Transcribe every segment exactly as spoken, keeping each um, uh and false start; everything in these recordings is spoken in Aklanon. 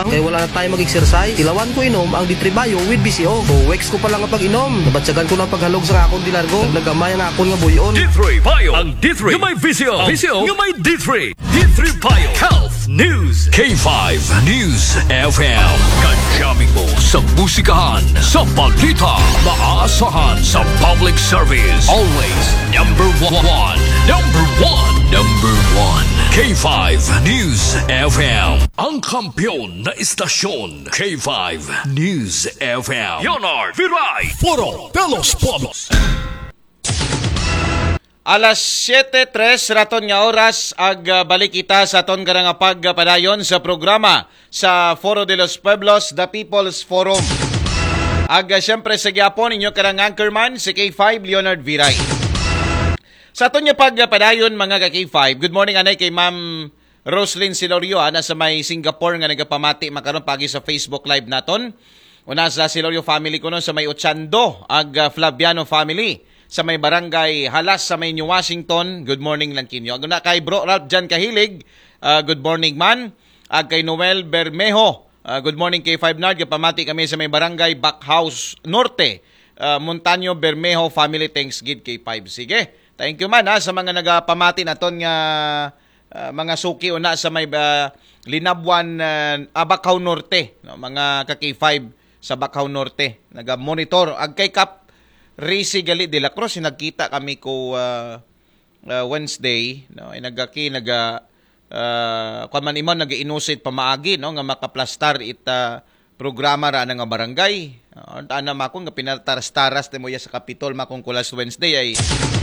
Kay wala na time mag-exercise, tilawan ko inom ang D three Bio with V C O. Two weeks ko pa lang nga pag-inom, nabatyagan ko ng paghalog sa akong dilargo. Nagnagamay ang akon nga buyon. D three Bio. Ang D three nga may V C O. V C O nga may D three. D three Bio Health News. K five News F M. Kajaming mo sa musikahan, sa balita, maaasahan sa public service. Always number one. Number one. Number one. K five News F M. Ang kampiyon na istasyon, K five News F M. Leonard Viray. Foro de los Pueblos. Alas siyete tres raton nga oras, ag ah, balik kita sa aton karang pagpadayon sa programa sa Foro de los Pueblos, The People's Forum. Ag ah, siyempre sa gyapon inyo karang anchorman si K five Leonard Viray. Sa aton nga pagpadayon, mga ka K five, good morning anay kay Ma'am Roslyn Silorio, ana sa may Singapore nga nagapamati makaron pagi sa Facebook Live naton. Una sa Silorio family kuno sa may Ochando, ag ah, Flaviano family sa may Barangay Halas sa may New Washington. Good morning lang kinyo. Ag una kay Bro Ralph Jan Kahilig, ah, good morning man. Ag kay Noel Bermejo, ah, good morning kay Five Nard, gapamati kami sa may Barangay Backhouse Norte, ah, Montaño Bermejo family. Thanks gid kay Five. Sige. Thank you man ha sa mga nagapamati naton nga ah, mga suki una sa may ah, Linabuan, ah, ah, Bacaw Norte, no? Mga ka K five sa Bacaw Norte, naga-monitor. Ag kay Kap Risi gali de la Cruz, nagkita kami ko ah, ah, Wednesday, no? Ay nagaki naga ah, kuwan man imaw nagainusit pamaagi, no, nga makaplastar ita programa ra nga barangay. Ah, ana makon nga pinataras-taras mo iya sa Kapitol makon ko last Wednesday ay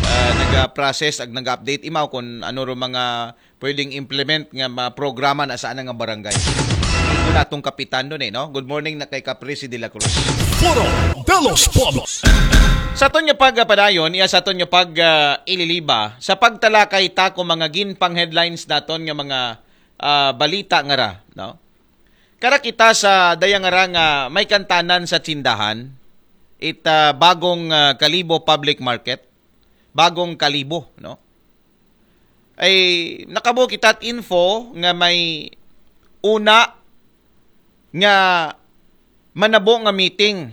ah, naga-process ag naga-update imaw kung ano ro mga pwedeng implement nga mga programa na sa ana nga barangay. Ito natong kapitan doon eh, no? Good morning na kay Caprici de la Cruz. Foro de los Pueblos. Sa aton nga pagpadayon, iya sa aton nga pag ah, ililiba, sa pagtalakay ta ko mga ginpang headlines naton nga mga ah, balita nga ra, no? Kara kita sa daya nga ra nga may kantanan sa tindahan, it ah, bagong ah, Kalibo Public Market, bagong Kalibo, no? Ay nakabo kita at info nga may una nga manabo nga meeting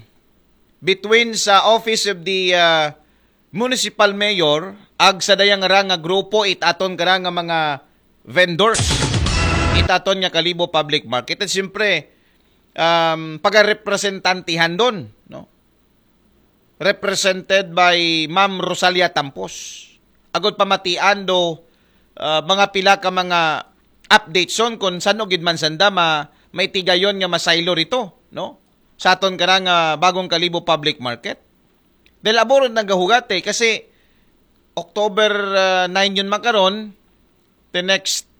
between sa Office of the ah, Municipal Mayor ag sa daya nga ra nga grupo it aton kara nga mga vendors it aton nga Kalibo Public Market. At siyempre, um, pagarepresentantihan doon, no? Represented by Ma'am Rosalia Tampos. Agot pamatian do ah, mga pila ka mga updates on kung saan gid man sanda ma may tigayon nga masaylo rito, no? Sa aton kara nga bagong Kalibo Public Market. Dahil abo ron nagahugat eh, kasi October ah, nine yun makaron, the next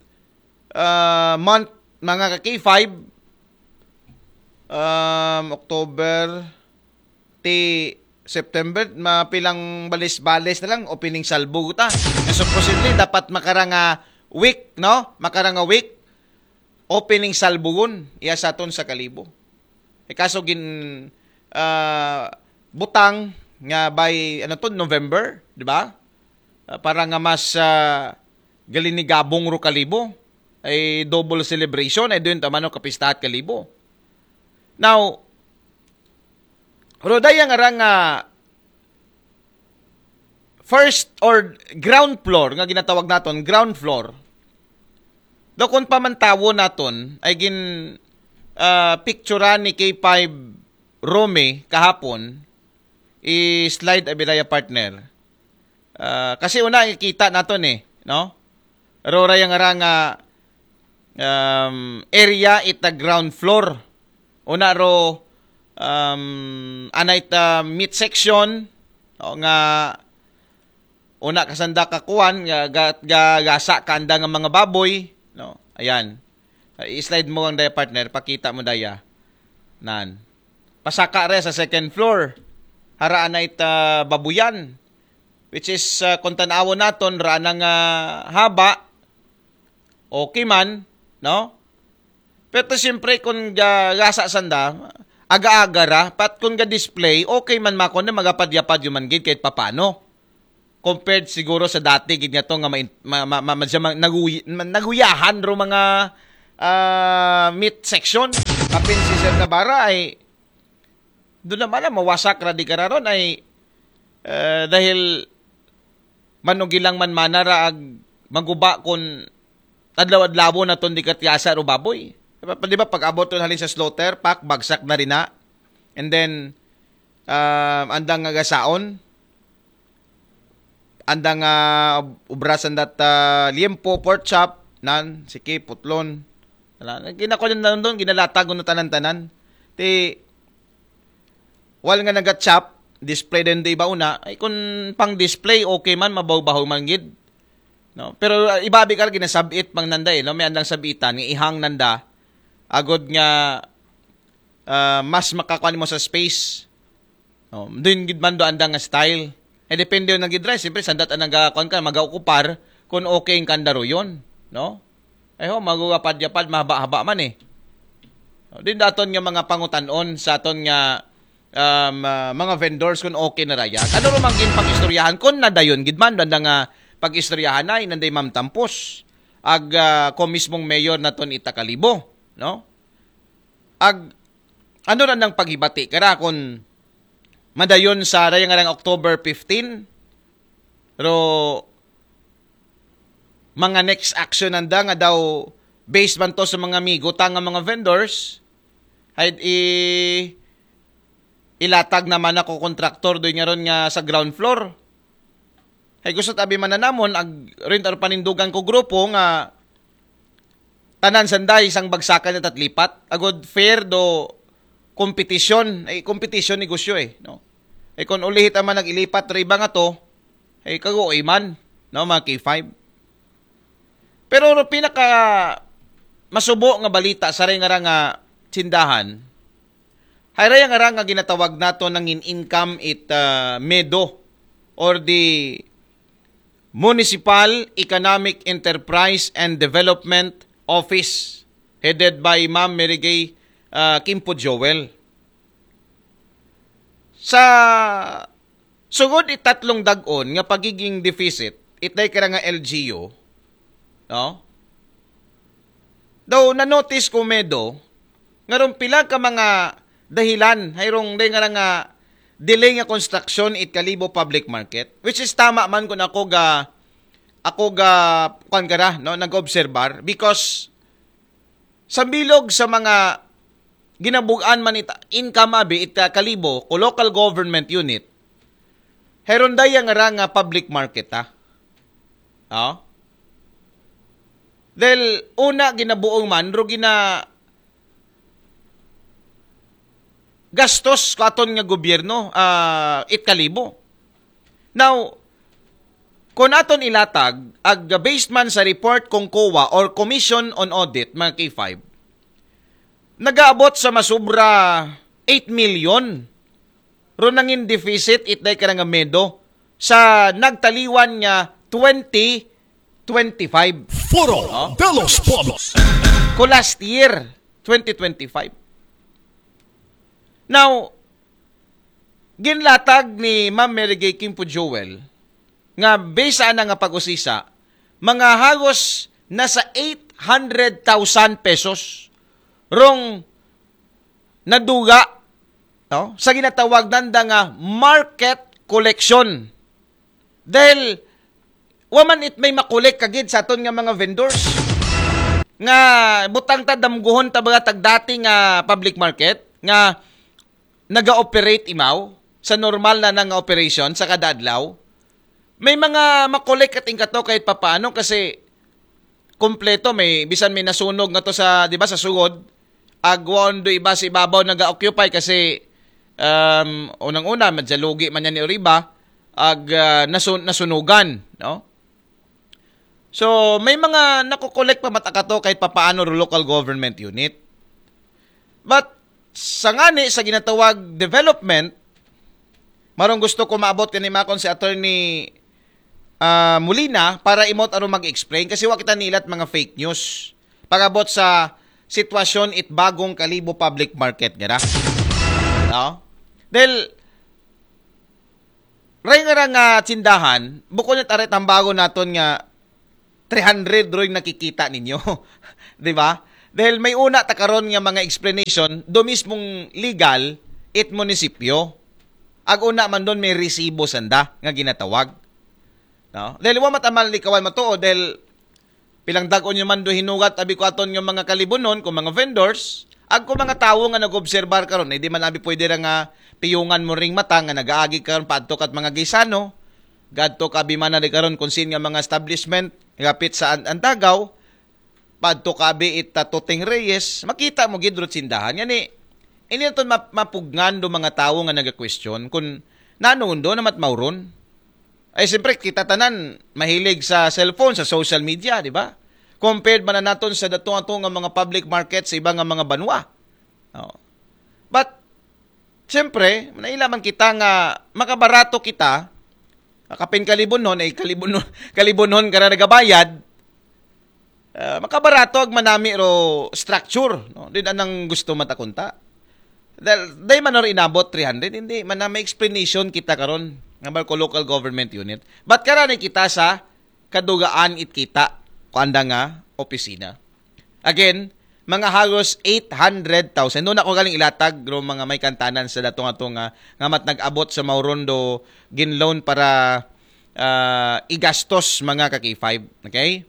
ah, month, mga ka K five, um, October, ti September, mapilang balis-balis na lang, opening salvo ta. Na supposedly, dapat makaranga week, no? Makaranga week, opening salbugon, iya sa aton sa Kalibo. E kaso gin, ah, butang nga by, ano to, November, di ba? Ah, para nga mas ah, galinigabong ro Kalibo. Ay double celebration, ay doon tamano kapistahat Kalibo. Now, ro daya nga ra nga first or ground floor nga ginatawag naton, ground floor. Do kung pamantawo naton ay gin ah, picturean ni K five Romy kahapon, i-slide abi daya partner. Ah, kasi una ikita naton eh, no? Ro ra yang ara nga um, area it the ground floor. Una ro um, ana it ah, meat section, no, nga una kasanda kakuan nga ga, ga, gasa kanda nga mga baboy, no? Ayan. Ah, i-slide mo ang daya partner, pakita mo daya. Nan. Pasaka re sa second floor. Haraan na it ah, babuyan. Which is ah, kung tanawon naton, raan nga haba, okay man, no? Pero siyempre kung ga, gasa sanda, aga-aga ra, pat kung ga-display, okay man makon na magapad-yapad yuman gid kahit papano. Compared siguro sa dati gid nga to nga ma, ma, ma, ma, ma, naguy, ma, naguyahan ro mga ah, meat section. Apin si Sir Navarra ay doon naman na mawasak ra di kararon ay, eh, dahil manugilang man manara ag maguba kun adlaw-adlaw na ton di katyasa ro baboy. Di ba, di ba, pag abot ton halin sa slaughter, pak, bagsak na rin na. And then, ah, andang nga gasaon, andang nga ubra sandat, ah, liempo, pork chop, nan, siki, putlon. Wala, ginako na doon, ginalatag na tanan-tanan. Ti, wal nga naga-chop, display din di ba una? Ay, kung pang display, okay man, mabaw-bahaw man gid. No? Pero, ah, ibabi ka, ginasabit pang nanda eh, no? May andang sabitan, nga ihang nanda, agod nga, ah, mas makakuan mo sa space. No? Doon gid man do andang nga style. Eh, depende yung nag-drive. Siyempre, sandat ang nagakuan ka, mag-okupar, kung okay ang kandaruyon. No? Ay ho, magugapad-yapad, mahaba-haba man eh. No? Din daton nga mga pangutanon sa aton nga, um, ah, mga vendors kung okay na raya. Ano rumang gin pag-istoryahan? Kung nadayon gid man, doon nga pag-istoryahan ay nanday Ma'am Tampos. Ag, ah, ko mismong mayor naton ita Kalibo, no? Ag, ano ra nang paghibati kara kung madayon sa raya nga rang October fifteen, ro mga next action nanda nga daw based man to sa mga migo ta nga mga vendors, ay i ilatag naman ako kontraktor doon nga ron nga sa ground floor. Ay gusto tabi man na namon, ag rin aro panindugan ko grupo nga tanan sanday isang bagsakan at lipat. Agod fair do competition. Ay competition negosyo eh. No? Ay kung ulihit naman nag-ilipat ro iba nga to, ay kagoy man. No, mga K five. Pero ro pinaka masubo nga balita sa ray nga ra nga tindahan, hay ray nga ra nga ginatawag nato nangin income it, ah, medo or the Municipal Economic Enterprise and Development Office headed by Ma'am Mary Gay, ah, Kimpo Joel. Sa sugod itatlong dag-on nga pagiging deficit, itay kara nga L G U, no? Daw na-notice ko medo, nga rong pila ka mga dahilan, hayrong day nga nga delay nga construction it Kalibo Public Market, which is tama man kung ako ga, ako ga, kuan kara, no, nag-obserbar, because sa bilog sa mga ginabugan man it income abi it, ah, Kalibo ko local government unit, heron daya nga ra nga public market, ha? Oh? Dahil una ginabuong man, ro gina gastos ko aton nga gobyerno, ah, it Kalibo. Now, kung aton ilatag, ag based man sa report kung COA or Commission on Audit, mga K five, nagaabot sa masubra eight million. Ro nangin deficit, itday ka nga medo sa nagtaliwan nga twenty twenty-five. Foro de los Pueblos. Ko last year, twenty twenty-five. Now, ginlatag ni Ma'am Mary Gay Kimpo Joel nga based sa ana nga pag-usisa, mga hagos na sa eight hundred thousand pesos rong naduga, no? Sa ginatawag nanda nga market collection. Dahil wa man it may makolek kagid sa aton nga mga vendors. Nga butang ta, damguhon ta, mga tagdati nga public market nga naga-operate imaw sa normal na nga operation sa kada adlaw. May mga makolek at ingkato kahit papaano kasi kompleto, may bisan may nasunog nga to sa, di ba, sa sugod, agwaon do iba sa ibabaw naga-occupy kasi, um, unang-una, madyalugi man yan ni Oriba, ag, ah, nasun- nasunugan, no? So, may mga nakokolek pa matakato kahit papaano ro local government unit. But, sa ngani, sa ginatawag development, marong gusto ko maabot kanimakon si Attorney, ah, Molina para imot aron mag-explain kasi wa kita nilat mga fake news. Pag-abot sa sitwasyon it bagong Kalibo Public Market, gara. No? Dahil, ray nga ra nga tindahan, bukod na tarit ang bago naton nga three hundred roy nakikita ninyo. Di ba? Dahil may una ta karon nga mga explanation do mismong legal it munisipyo. Ag una man doon may resibo sanda nga ginatawag. No? Dahil wa matamal likawan matuod dahil pilang dagon nyo man do hinugat abi ko aton nga mga kalibunon kung mga vendors ag kung mga tawo nga nag-obserbar karon, eh, di man abi pwede ra nga piyungan mo ring mata nga nagaagi karon paadto kat mga gisano, gadto ka abi man na di karon kung sin nga mga establishment gapit sa an- Antagaw, padto ka abi it Tatuteng Reyes, makita mo gid rot sindahan. Ngani, ini naton map- mapugngan do mga tawo nga naga-question kung nano undo na matmawron. Ay, siyempre, kita tanan, mahilig sa cellphone, sa social media, di ba? Compared man na naton sa datong ato nga mga public market sa iba nga mga banwa. Oh. But, siyempre, naila man kita nga makabarato kita, kapin kalibunon, ay kalibunon, kalibunon ka na nagabayad, ah, makabarato ag manami ro structure, no? Din anang gusto matakunta. Dahil, dahil man ro inabot three hundred, hindi man na may explanation kita karon nga ko local government unit. But karani kita sa kadugaan it kita ko anda nga opisina. Again, mga halos eight hundred thousand. Doon ako galing ilatag ro mga may kantanan sa datong ato nga, nga mat nag-abot sa mauron do ginloan para ah, igastos mga ka-K five. Okay?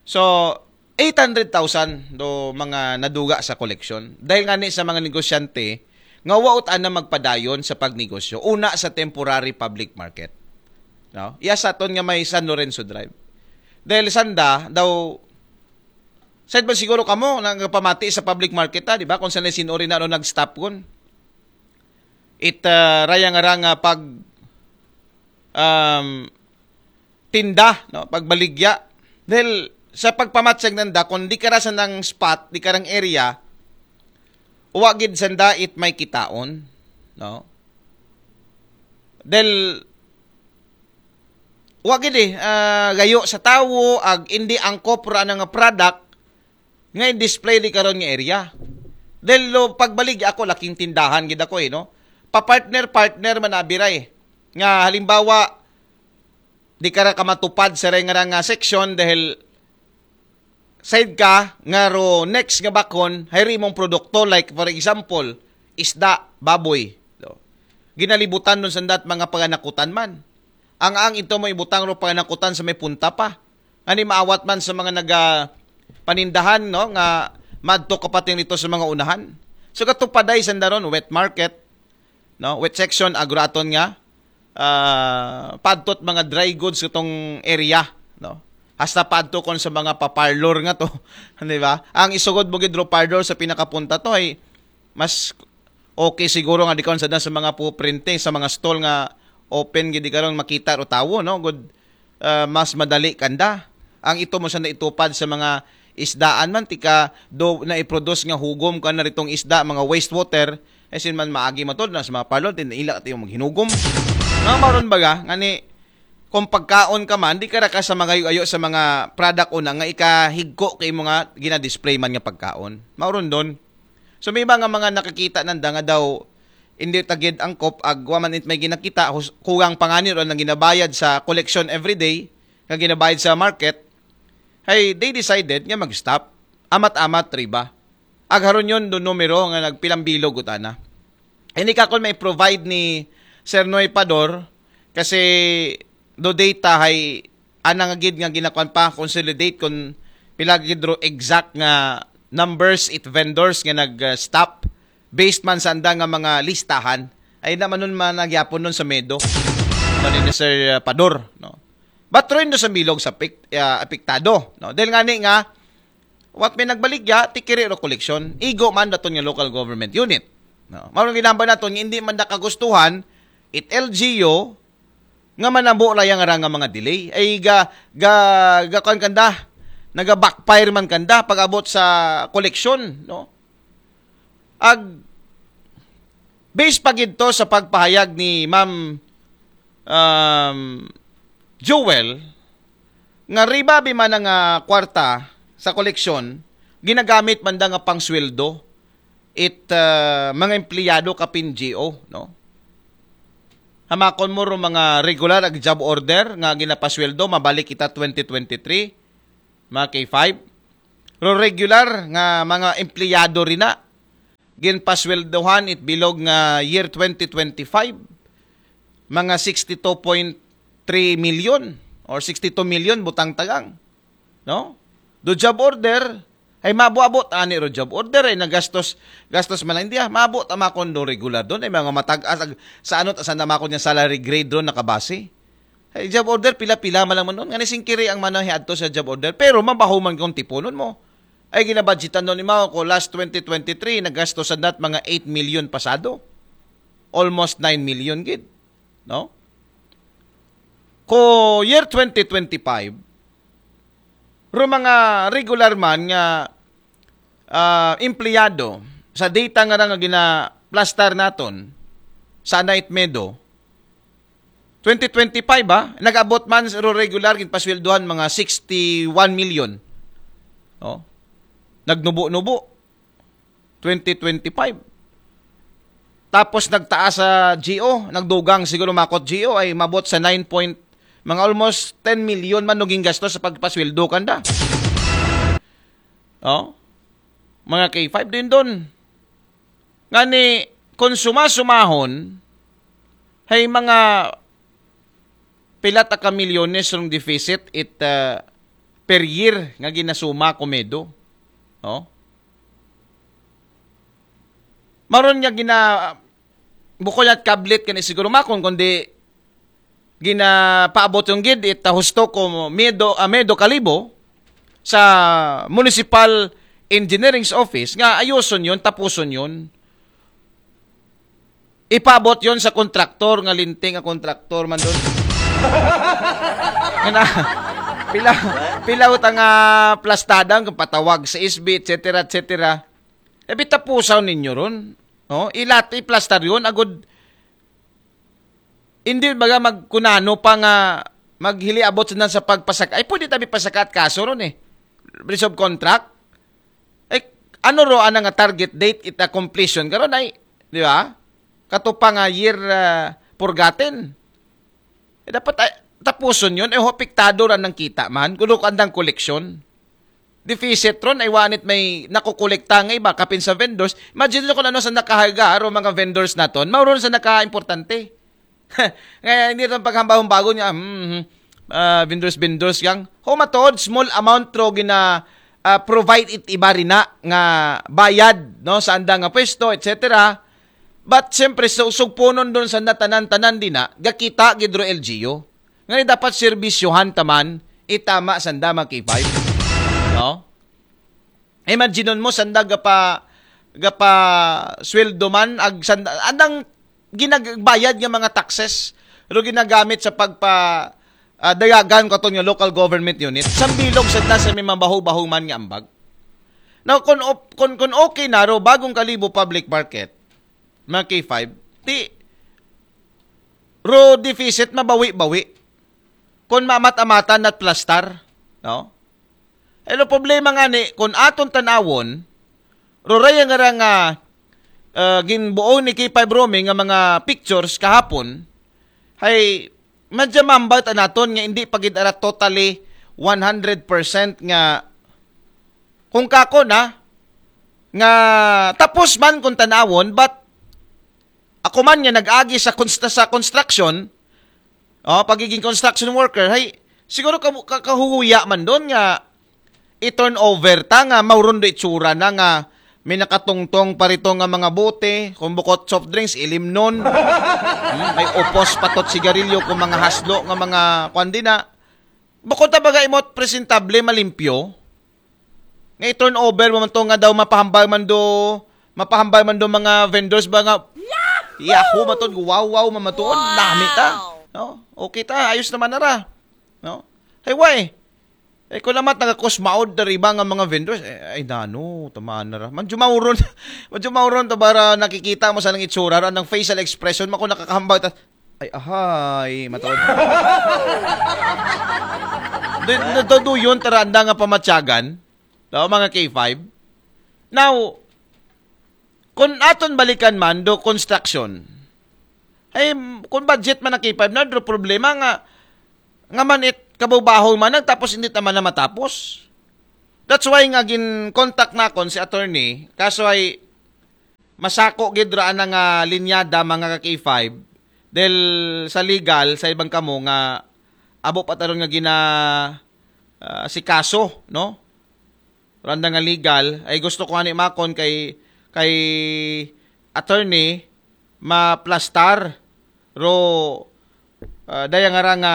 So, eight hundred thousand do mga naduga sa koleksyon. Dahil nga ni sa mga negosyante, nga waot ana magpadayon sa pagnegosyo, una sa temporary public market. No? Iya sa aton nga may San Lorenzo Drive. Dahil sanda, daw, said ba siguro kamo, nagpamati sa public market, ha, di ba? Kung sanay sinuri na ano nag-stop kun. It, ah, raya nga ra nga pag, um, tinda, no? Pagbaligya. Dahil sa pagpamatsag nanda, kung di ka ra sa nang spot, di ka rang area, wa gid sanda it may kitaon, no? Dahil wa gid eh, ah, gayo sa tawo, ag hindi angkop ra nga product, nga in-display di karon nga area. Dahil lo, pagbalik ako, laking tindahan gid ako eh, no? Pa-partner-partner man abiray. Nga halimbawa, di ka ra ka matupad sa rengara nga section dahil side ka nga ro next nga bakon, hayri imong produkto, like for example, isda, baboy. So, ginalibutan nun sandat mga paganakutan man. Ang ang ito mo ibutang ro paganakutan sa may punta pa. Ani maawat man sa mga naga panindahan, no, nga madto kapating dito sa mga unahan. So katupaday sandaron, wet market, no, wet section, agraton nga, ah, padtot mga dry goods itong area, no. Hasta padto kon sa mga paparlor nga to, di ba? Ang isugod mo gid ro parlor sa pinakapunta to ay mas okay siguro nga di karon sa sa mga puprinting sa mga stall nga open gid di karon makita ro tawo, no, good, ah, mas madali kanda ang ito mo sa naitupad sa mga isdaan man tika do na i-produce nga hugom ka na ritong isda, mga wastewater, ay sin man maagi matod na sa mga parlor, tin ila tayo maghinugom. Nga maron baga nga ni kung pagkaon ka man, di ka ra ka sa magayo-ayo sa mga product una nga ikahigko kay mo nga gina-display man nga pagkaon. Mauron don. So may iba nga mga nakakita nanda nga daw hindi tagid ang kop ag wa man it may ginakita, hus- kugang pangani ron ang ginabayad sa collection everyday, nga ginabayad sa market, ay they decided nga mag-stop. Amat-amat riba. Ag haron yun do numero nga nagpilang bilog utana. Hindi ka kon may provide ni Sir Noy Pador kasi do data hay anang gid nga ginakuan pa consolidate kon pila gid ro exact nga numbers it vendors nga nag-stop based man sa anda nga mga listahan ay na man nun man nagyapon nun sa medo man ni Sir Pador, no? But rin do sa bilog sa pik- ah, apektado, no? Dahil nga ni nga what may nagbaligya, tikiri ro koleksyon. Igo man daton nga local government unit. No? Mao ginambal naton nga hindi man nakagustuhan it L G U nga manabo ra yang nga mga delay. Ay ga ga ga kuan kanda, naga backfire man kanda pag-abot sa koleksyon, no? Ag base pa gid to sa pagpahayag ni Ma'am um, Jewel, nga riba bi man nga kwarta sa koleksyon ginagamit man da nga pangsweldo it ah, mga empleyado kapin G O, no? Hamakon mo ro mga regular ag job order nga ginapasweldo mabalik kita twenty twenty-three, mga K five. Ro regular nga mga empleyado rin na. Ginpasweldohan it bilog nga year twenty twenty-five. Mga sixty-two point three million or sixty-two million butang tagang. No? Do job order, ay mabuabot ani ro job order ay nagastos, gastos man lang diya, maabot ang makon do regular doon, ay mga matag-as, ag-, sa ano, sa namakon niya salary grade doon nakabase. Ay job order, pila-pila man lang man doon. Nga ni singkiri ang manahe adto sa job order, pero mabaho man kung tipunon mo. Ay ginabudgetan doon ni Mao ko last twenty twenty-three, nagastosan nat mga eight million pasado. Almost nine million gid. No? Ko year twenty twenty-five, ro mga regular man nga ah, empleyado sa data nga nga ginaplastar naton sa Night Meadow, twenty twenty-five ba, nag-abot man ro regular ginpasweldohan mga sixty-one million. Oh. Nagnubo-nubo. Twenty twenty-five. Tapos nagtaas sa G O, nagdugang siguro makot G O ay mabot sa nine point, mga almost ten million man naging gasto sa pagpasweldo kanda. Oh? Mga K five din doon. Nga ni, kung sumasumahon, hay mga pilat ka milyones rong deficit it ah, per year nga ginasuma ko medo. Oh? Maron nga gina bukod at kablit kani siguro makon kundi ginapaabot yung gid it ah, husto ko medo, ah, medo kalibo sa Municipal Engineering's Office nga ayuson yon, tapuson yon. Ipabot yon sa kontraktor nga linting ang kontraktor man doon. Nga na, pila, pila utang nga plastada ang patawag sa S B, et cetera, et cetera. Ebi tapusaw ninyo ron. No? Ilat, iplastar yon, agud, hindi baga magkunano pa nga maghiliabot na sa pagpasak. Ay, pwede tabi pasakat kaso ron eh. Breach of contract. Eh, ano ro ana nga target date ita completion karon ay, di ba? Katupa nga year ah, purgatin. Eh, dapat ay, tapuson yun. Eh, ho, apektado ra ng kita man. Kuno andang koleksyon. Deficit ron, ay wanit may nakukolekta nga iba, kapin sa vendors. Imagine nyo kung ano sa nakaharga, ro mga vendors naton. Mauron sa naka-importante. Ngayon, hindi itong paghambahong bago niya, hmm, hmm, ah, vendors, vendors, yang, ho, matuod, small amount ro gina, ah, provide it iba rin na nga bayad, no, sa andang nga pwesto, et cetera. But, siyempre, so, sugpunon doon sa natanan-tanan din na, gakita, gidro L G U. Nga ni dapat serbisyohan taman, itama sa andang mga K five. No? Imagine mo, sanda gapa, gapa sweldo man, ag sanda, andang ginagbayad nga mga taxes, ro ginagamit sa pagpa, ah, dayagan ko nga local government unit. Sambilog sa na sa may mabaho-baho man nga ambag. Now, kung, op- kung, kung okay na ro, bagong kalibo public market, mga K five, ti, ro deficit mabawi-bawi. Kung mamat-amatan at plastar, no? Hello, problema nga ni, kung aton tanawon, ro raya nga ra nga, ah, ginbuo ni K five Romy nga mga pictures kahapon, hay, madya mambal ta naton nga hindi pa gid ara totally one hundred percent nga kung kako na, nga tapos man kung tanawon, but ako man nga nag-agi sa, const- sa construction, oh, pagiging construction worker, hay, siguro ka, ka, kahuhuya man doon nga i-turnover ta nga mauron do itsura na nga may nakatungtong parito nga mga bote, kung bukot soft drinks, ilimnon. Hmm, may upos patot sigarilyo kung mga haslo nga mga kwan din na. Bukod ta baga imot presentable, malimpyo, nga i-turnover mo man to nga daw mapahambal man do, mapahambal man do mga vendors ba nga, Yahoo! Maton, wow, wow, mamatuon, nami ta. No? Okay ta, ayos naman na ra. No? Hey, why? Eh, kung naman taga-kusmaod na riba nga mga vendors, eh, ay nano, tamaan na ra. Madyo mauron, madyo mauron to para nakikita mo sa nang itsura, ra, ng facial expression, mako nakakahambal ta, ay, ahay, matuod. Nagduduyon, taranda nga pamatyagan, no, mga K five. Now, kung aton balikan man do construction, ay, kung budget man ang K five, na do problema nga, nga man it kabaw-bahaw man, tapos hindi naman na matapos. That's why nga gin-contact nakon si attorney, kaso ay masako gid ra ana nga linyada, mga ka K five, dahil sa legal, sa ibang kamo nga abo pa taron nga gina, ah, si kaso, no? Randa nga legal, ay gusto ko ani makon kay, kay attorney maplastar, ro, ah, daya nga ra nga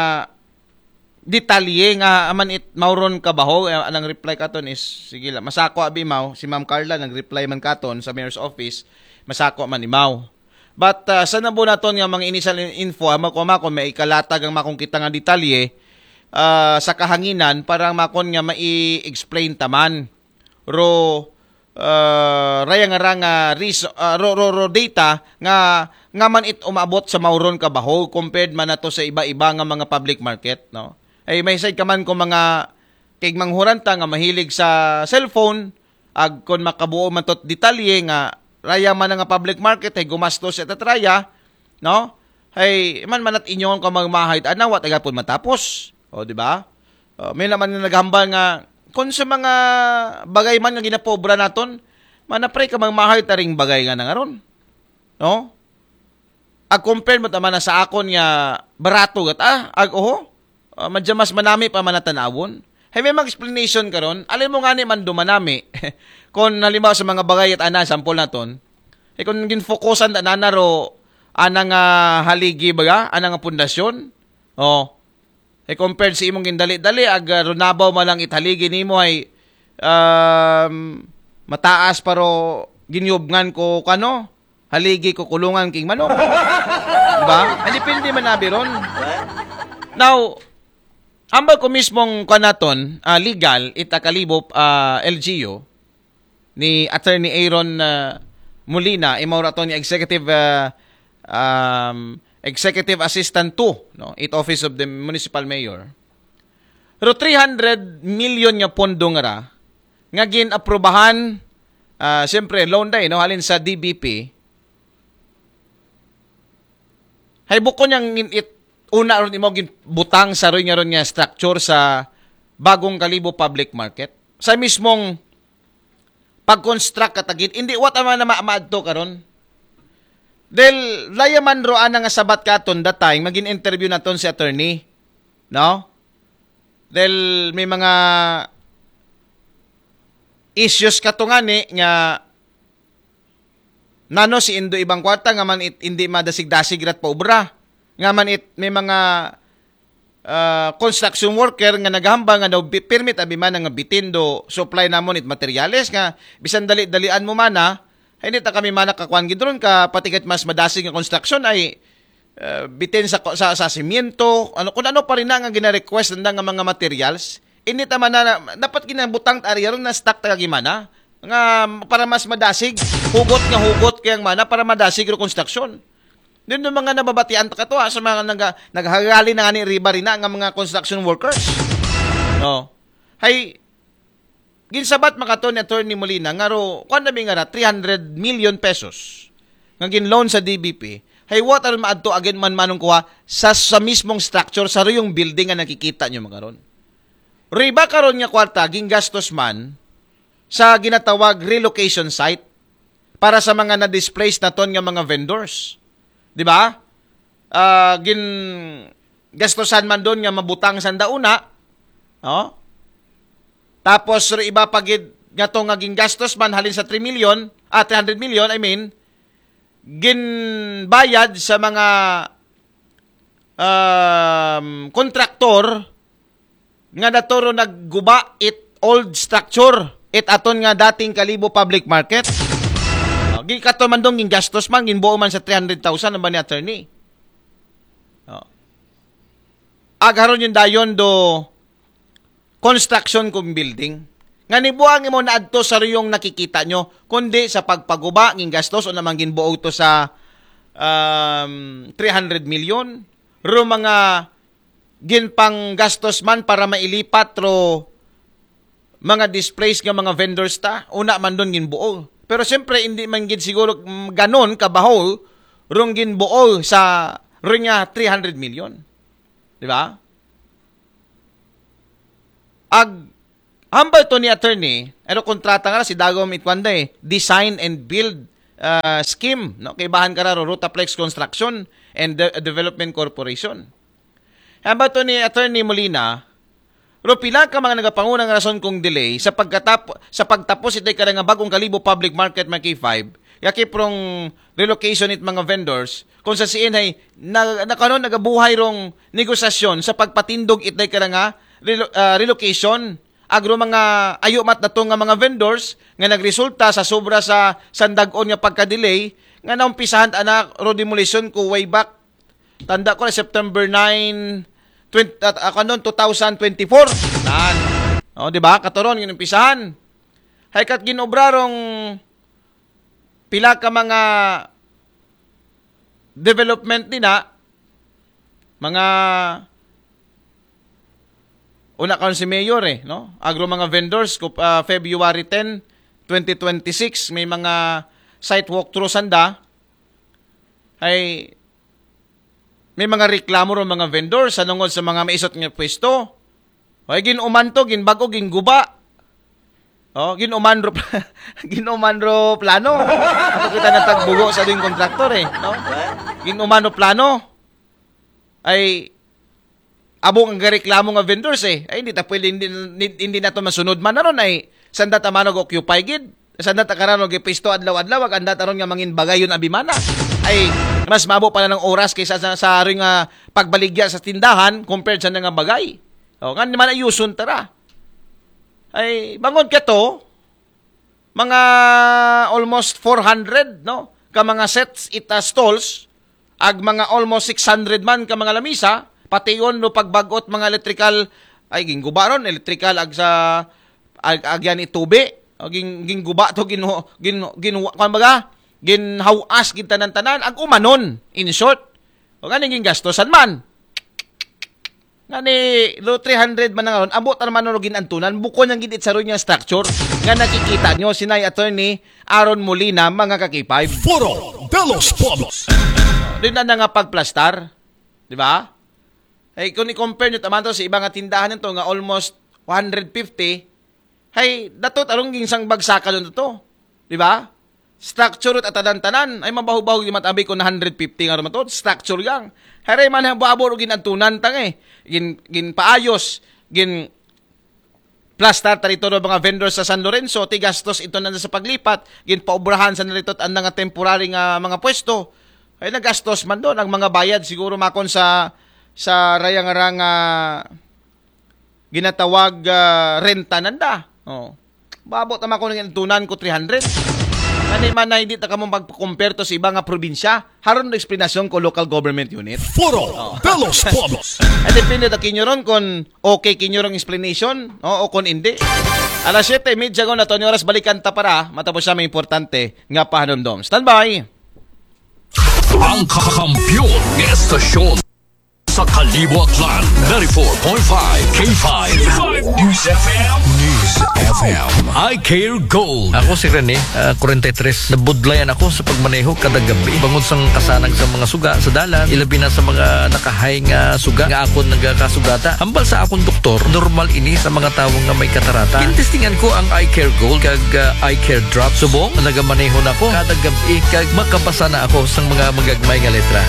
detalye nga aman it mauron kabaho, eh, anang reply katon is, sige lang, masako abi maw, si Ma'am Carla nag-reply man katon sa mayor's office, masako man imaw. But, ah, sa nabo naton nga mga initial in-, info, ama ko, ama ko, may ikalatag ang makong kita nga detalye, ah, sa kahanginan, para makon nga mai-explain taman. Ro, ah, raya nga ra nga reason, ah, ro, ro, ro data nga, nga man it umabot sa mauron kabaho compared man nato sa iba-iba nga mga public market, no? Ay, may side ka man kung mga kay manghuran ta nga mahilig sa cellphone, ag kon makabuo man tot detalye nga raya man nga public market ay gumastos sa tatraya, no? Ay, man manat inyon ka magmahay, ana, wa taga pun matapos. O, di ba? O, may naman nga naghambal nga, kung sa mga bagay man nga ginapobra naton, manapre ka magmahay taring bagay nga nangaron. No? Ag compare mo tama na sa akon nga barato gat, ah, ag oho, ah, madya mas manami pa manatanawon. Hay may mga explanation karon, alin mo nga ni man dumanami. Kung halimbawa sa mga bagay at ana, sample naton, eh, kung ginfokusan ta nana ro, ana nga haligi baga, ana nga pundasyon, oh, eh, compared sa imong gindali-dali, ag, ah, runabaw man lang ithaligi nimo ay, um, mataas, pero ginyubngan ko kano, haligi ko kulungan king manok. Diba? Ay, depende man abi ron. Now, ambal ko mismong kanaton, ah, legal, ita Kalibo, ah, L G U, ni Attorney Aaron, ah, Molina, imaw raton ni Executive, ah, um, Executive Assistant two, no, it Office of the Municipal Mayor. Pero three hundred million nga pondo nga ra, nga gin-aprobahan, ah, siyempre, loan day, no, halin sa D B P. Hay bukon yang in-, it, una ron imo ginbutang sa roy nga ron nga structure sa Bagong Kalibo Public Market. Sa mismong pag-construct katagid, hindi, what am I na ma-, maadto karon? Dahil layaman ro ana nga sabat katon that time, magin interview naton si attorney. No? Dahil may mga issues kato nga ni nga nano si Indo ibang kwarta nga man it, hindi madasig-dasig rat paubra. Nga man it, may mga, ah, construction worker nga naghambal nga daw bi-, permit abi man nga bitin do supply namon it materials nga bisan dali-dalian mo mana, hindi ta kami mana kakuan gid ron ka pati kahit mas madasig nga construction ay, ah, bitin sa, sa, sa simyento, ano, kung ano pa rin na nga gina-request nanda nga mga materials, hindi ta mana, dapat ginabutang ta ari ron na stock ta gimana nga para mas madasig, hugot nga hugot kayang mana para madasig ro construction. Din yung mga nababatian ta kato, ha, sa mga naga-, naghagali na nga ni riba rin na nga mga construction workers. No. Hay, ginsabat makato ni Attorney Molina nga ro, kuwan na nga ra, three hundred million pesos nga gin-loan sa D B P. Hay, what are maadto again man manong kuha sa, sa mismong structure, sa ruyong building nga nakikita nyo makaron. Riba karon nga kwarta, gingastos man sa ginatawag relocation site para sa mga na-displaced naton nga mga vendors. Di ba? Ah, gin gastusan man doon nga mabutang sa dauna, no? Tapos, ro iba pa gid nga to nga gingastos man halin sa three million, ah, three hundred million, I mean, ginbayad sa mga, um, kontraktor nga naturo nagguba it old structure, it aton nga dating Kalibo Public Market. Oh, gi kato man dong gingastos man, ginbuo man sa three hundred thousand ang ba ni attorney. Oh. Agharon yung dayon do construction kung building. Nga nibuang imo naadto sa ruyong nakikita nyo, kundi sa pagpaguba, gingastos o namang ginbuo to sa, um, three hundred million. Ro mga ginpanggastos man para mailipat ro mga displaced nga mga vendors ta, una man doon ginbuo. Pero siyempre, hindi man gid siguro, mm, ganon kabaho rong ginbuo sa ro nga three hundred million. Di ba? Ag Hambal to ni attorney, ano kontrata nga si dagom itwanda eh, design and build uh, scheme, no? Kay bahan ka raro Rotaflex Construction and De- Development Corporation. Hambal to ni attorney Molina, ro pila ka mga nagapangunang rason kung delay sa pagkatap sa pagtapos itay ka nga bagong kalibo public market mga K five, yaki prong relocation it mga vendors, kung sa siin ay na, na karon nagabuhay rong negosasyon sa pagpatindog itay ka nga relo, uh, relocation agro mga ayo mat dato nga mga vendors nga nagresulta sa sobra sa sandagon nga pagka-delay nga naumpisahan ana ro demolition ko way back tanda ko na September nine twenty, at ako noon two thousand twenty-four. Nan. Oh, di ba? Katuron ginumpisahan. Hay kat ginobra rong pila ka mga development din ha. Mga una karon si Mayor eh, no? Agro mga vendors ko uh, February ten, twenty twenty-six may mga site walkthrough sanda ay may mga reklamo ro mga vendors sa nungod sa mga maisot nga pwesto. Ay ginuman to, ginbago, ginguba. Oh, ginuman ro ginuman ro plano. Ako kita na tagbugo sa ding kontraktor eh, no? Ginuman ro plano. Ay abo ang gareklamo nga vendors eh. Ay, hindi ta pwede, hindi, hindi, hindi na to masunod man naron ay sanda ta manog occupy gid. Sanda ta karano gipisto adlaw-adlaw, ag anda taron nga mangin bagay yun abimana. Ay, mas mabo pa na ng oras kaysa sa, sa aring uh, pagbaligya sa tindahan compared sa nga bagay. O, nga naman ayusun tara. Ay, bangod ka to, mga almost four hundred, no? Ka mga sets ita stalls, ag mga almost six hundred man ka mga lamisa, pati yon no pagbagot mga electrical, ay gingguba ron, electrical ag sa ag, agyan itubi, o ging, gingguba to gin gin gin kuan baga, ginhawas gid tanan-tanan, ag umanon, in short. O ganing gingastosan man. Nga ni lo three hundred man nga ron, ambot naman ro ginantunan, bukon ang gid itsaroy nga structure nga nakikita nyo, sinay attorney Aaron Molina, mga kakipay. Foro de los Pueblos. Doon na nga pagplastar, di ba? Ay, kung i-compare nyo taman to sa iba nga tindahan nito nga almost one hundred fifty, hay, datot arong ginsang bagsakan nito, di ba? Structure at atanan-tanan. Ay, mabaho-baho di matabi ko na one hundred fifty nga rumatot. Structure yang. Haray man habo-habo ro ginantunan tang eh. Gin, gin paayos. Gin plastar ta rito mga vendors sa San Lorenzo. Ti gastos ito na sa paglipat. Gin paubrahan sa narito at nga temporary nga mga pwesto. Ay, nagastos man doon ang mga bayad siguro makon sa sa rayang-rang uh, ginatawag uh, renta nanda. Oh. Babo tama ko nang tunan ko three hundred. Ani man na hindi ta kamo magpakumpare to sa iba nga probinsya. Haron na eksplanasyon ko local government unit. Foro oh. De los Pueblos. Ay depende ta kinyo ron kung okay kinyo rong explanation no? O kung hindi. Alas siyete medya ko na to, oras balikan ta para matapos siya may importante nga pahanumdom. Standby! Ang kakampiyon ng estasyon sa Kalibo Aklan, ninety-four point five K five News F M. News F M. I Care Gold. Ako si Rene, uh, forty-three. Nabudlayan ako sa pagmaneho kada gabi. Bangod sang kasanag sa mga suga sa dalan, ilabi na sa mga nakahay nga suga nga akon nagakasugata. Hambal sa akong doktor, normal ini sa mga tawo nga may katarata. Intestingan ko ang I Care Gold kag uh, I Care Drop. Subong, nagamaneho na ko kada gabi kag makabasa na ako sang mga magagmay nga letra.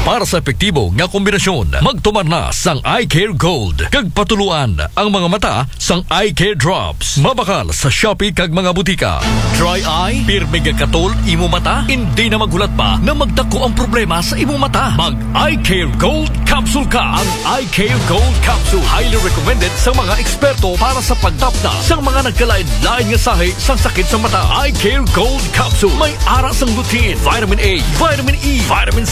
Para sa epektibo nga kombinasyon, magtumar na sang Eye Care Gold kag patuluan ang mga mata sang Eye Care Drops. Mabakal sa Shopee kag mga butika. Dry eye? Pirmi gakatol imo mata? Hindi na maghulat pa na magdako ang problema sa imo mata. Mag Eye Care Gold Capsule ka. Ang Eye Care Gold Capsule highly recommended sa mga eksperto para sa pagtapna sa mga nagkalain-lain nga sahi sa sakit sa mata. Eye Care Gold Capsule may ara sang lutein, vitamin A, vitamin E, vitamin